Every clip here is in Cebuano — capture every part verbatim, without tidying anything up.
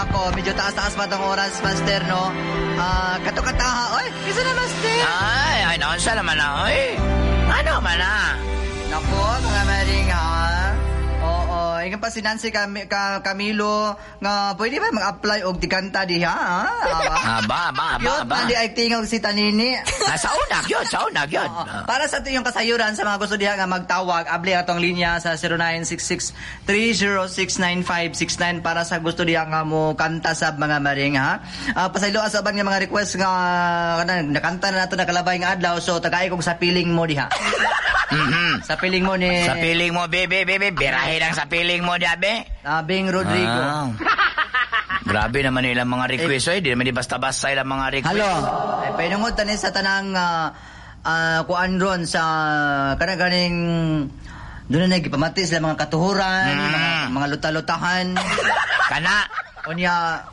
Nako, medyo taas-taas pa tong oras, Master, no? Ah, kato kataha. Oy, kisa na, Master. Ay, ay, naunsa naman na, oy. Ano man na? Nako, mga maring ha. Oo, ingan pa si Nancy Cam- Ka- Camilo nga pwede ba mag-apply og tikanta diha, ha? Aba. Aba, aba, aba, Cute aba. man di ay tingog si Tanini. Ah, sa una, gyud, sa una, gyud. Oo. Para sa iyong kasayuran sa mga gusto diha nga magtawag, abli atong linya sa zero nine six six, three zero six, nine five six nine para sa gusto diha nga mo kanta sa mga maring ha. Uh, pasaylo sa uban nga mga request nga kanang nakanta na nato nakalabay nga adlaw, so tagay kog "Sa Piling Mo" diha. Mhm. "Sa Piling Mo" ni "Sa Piling Mo," bebe, bebe, birahe lang "Sa Piling Mo," diabe. ah, Bing Rodrigo. Ah. Grabe naman ilang mga request, oy. Di naman di basta-basta ilang mga request. Halo. Ay, painungod tani sa tanang ah, ah, kuan ron sa kanang ganing doon na nagipamati sila mga katuhuran, Mm. mga, mga luta-lutahan. Kana. Unya,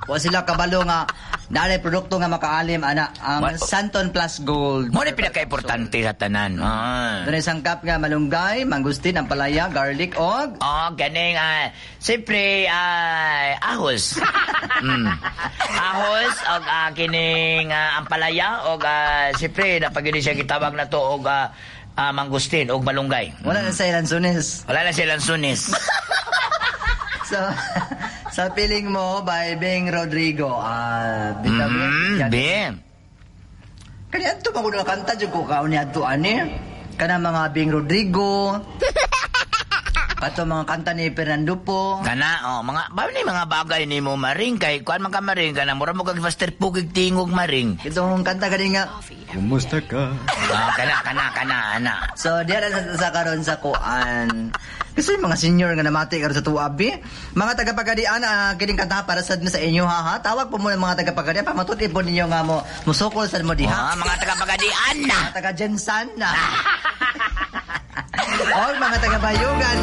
wa sila kabalo nga naay produkto nga makaalim ana ang Wa- Santon Plus Gold. Mo na pinaka-importante sa tanan. Ah. Doon ay sangkap nga malunggay, mangustin, ampalaya, garlic og Oh, ganing, ah, siyempre, ah, ahos. mm. Ahos, og ah, kining ah, ampalaya, og ah, siyempre, napagini siya gitawag na to, og ah, ah, mangustin, og malunggay. Wala na sa lansones. Wala na siya lansunis. So, "Sa Piling Mo" by Bing Rodrigo. Ah, bitaw Mm, be. Kani adto pa ko kanta jud ko kaon ni adto ani. Kana mga Bing Rodrigo. Kato mga kanta ni Fernando Poe. Kana, oh, mga, ba ni mga bagay ni mo maring, kay, kuan man ka maring, kana, mura mo kag faster pugig tingog maring. Itong kanta gani nga. Kumusta ka? Ah, kana, kana, kana, ana. So diya na sa, sa karon sa kuan. Kasi yung mga senior nga namati karon sa tuabi. Mga taga-Pagadian, ah, kining kanta para sad sa inyo ha, ha. Tawag po muna mga taga-Pagadian pamatud po ninyo nga mo musukol sad mo diha. Ah, mga taga-Pagadian na. Mga taga GenSan na. O mga taga-Bayugan.